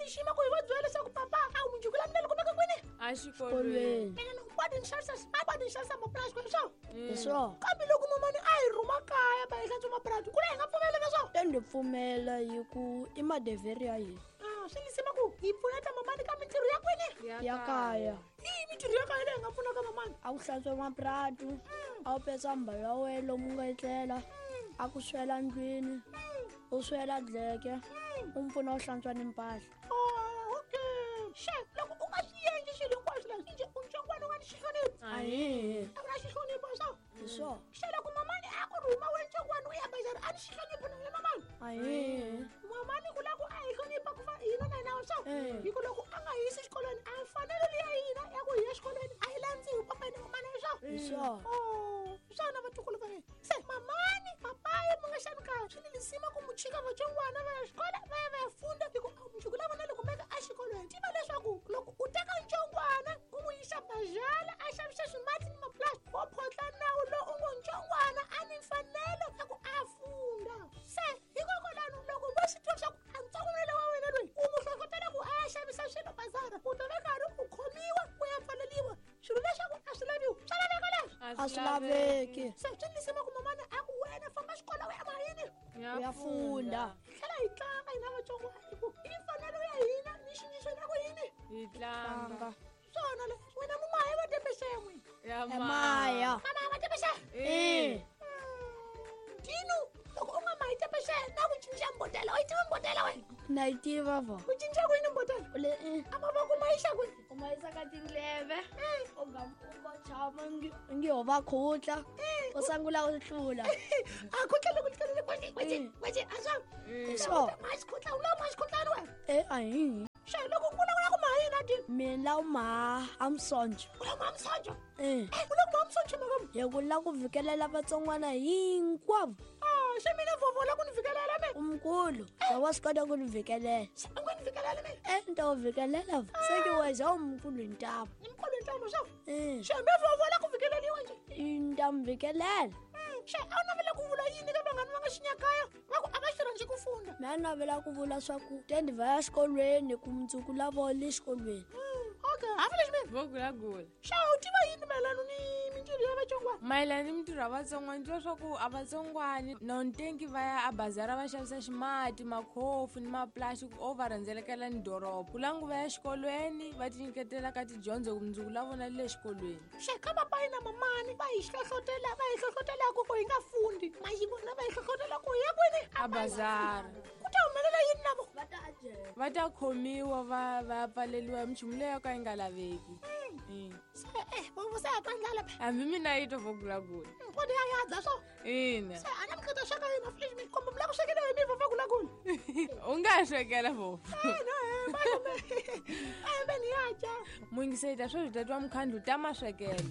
lixima ku hi va byela leswaku papa a wu mundzuku la mina loko meka kwini exikolweni mina ni kwadi ni xavisa kwadi ni xavisa mapurasi kwini swo hi swona kambe loko mamani a hi rhuma kaya va hi hlantswa mapurasi ku la hi nga pfumela na swona te ndzi pfumela hi ku i madevheri ya hina Ah, swi lisima ku hi pfuneta mamani ka mintirho ya kwini ya kaya i mintirho ya kaya leyi hi nga pfunaka mamani a ku hlantswa mapuratu a wu petsa mbalo ya wena lomu nga etlela a ku swela ndlwini u swela dleke u mi pfuna u hlantswa ni mpahla Oh, okay xe loko u nga swi endli swilo hinkwaswo leswi njhe u ntsongwana u nga ni xihlonipho ahihi a ku na xihlonipho swo hi swona xe loko mamani a ku rhuma we ntsongwana u ya bazari a ni xihlonipho na wena mamani ahihi mamani ku lava ku a hi hlonipha ku fa hina na hina swo Eh. hi ku loko a nga hisi xikolweni a mfanelo leya hina ya ku hi ya xikolweni a yi landziwi papa hina mamani swo hi swona Oh, swona vatukulu va mina se mamani papayi mu nga xani kaya swi ni lisima ku muchika vatsongwana va ya xikola va ya va ya funda hi ku mundzuku la vona loko meka exikolweni tiva leswaku loko u teka ntsongwana u n'wi yisa bazhala a xavisa swimati ni mapulasi wo photla nawu lowu u ngo ntsongwana a ni mfanelo ya ku a funda se hikokwalano loko vo swi tiva leswaku a ntsongwana wa wena loyi u n'wi hlohlotela ku a ya xavisa swilo bazara u ta va karhi u khomiwa u ya pfaleliwa swilo leswaku a swi laviwi swa laveka leswi a swi laveki se swi lisima ku mamana a ku wena famba xikolo u ya mayini u ya funda hi tlhela hi tlanga hina vatsongwana hi ku i mfanelo ya hina ni xinyiso na ku yini hi tlanga tlanga swona le wena mumahi va tepexen'we ya emaya mama va tepexe e tinu loko u nga mahi tepexe na ku cinca mbotela u yi tiva mbotela wena na yi tiva vo u cinca kwini mbotela le a mavoko ma yixa kwini u ma yisa ka tindleve u nga u nga tshama ngi ho va khutla u sungula u hlula a khutla loko tlelele kweci kweci kweci a swa hi swona ma xikhutla u lava ma xikhutlani wena e ahihi xe loko u kula u la ku maha yini a tini mina la u maha a musonjo u la ku maha musonjo e u la ku maha musonjo makamu hi ku la ku vikelela vatsongwana hinkwavo Ah, xe mina vovo la ku ni vikelela me umkhulu za wa swi kota ku ni vikelela Xe, u nga ni vikelela me e ni ta wu vikelela vo se ke weza umkhulu hi ntamu ni mkhulu ntlamo swa e xe me vovo la ku vikeleliwa nje ni ta mi vikelela xe a wu navela ku vula yini ka vanghani va nga xinyakaya va ku a va xi rhandzi ku funda mi a navela ku vula swa ku tendi va ya xikolweni ku mundzuku la vo le xikolweni okay hafi lexi mina vo gulagula xe u tiva yini mayelano ni mintirho ya vatsongwana mayelana ni mintirho ya vatsongwana ni twa swa ku a vatsongwani nontenki va ya abazara va xavisa ximati makhofu ni mapulasi o va rhendzelekela ni doroba ku langu va ya xikolweni va tinyiketela ka tidyondzo ku mundzuku la vona le xikolweni xe ka papayi na mamani va hi hlohlotela va hi hlohlotelaka ku hi nga fundi ma yi vona va hi hlohlotela ku hi ya kwini a bazara ku ta humelela yini na vo va ta ajela va ta khomiwa va va ya pfaleliwa hi minchumu leyo ka yi nga laveki se eh vovo se ya twa ndlala phe hambi mina yi to vo gulagula kodi ya yadza swo ina se a na mihleketa sweka yini afilexi mi komba mi la ku swekela hi mi vova gulagula u nga ha swekela vovo a hembe ni ya dya muyingiseli ta sweswi ta twa mukhandlu ta maswekelo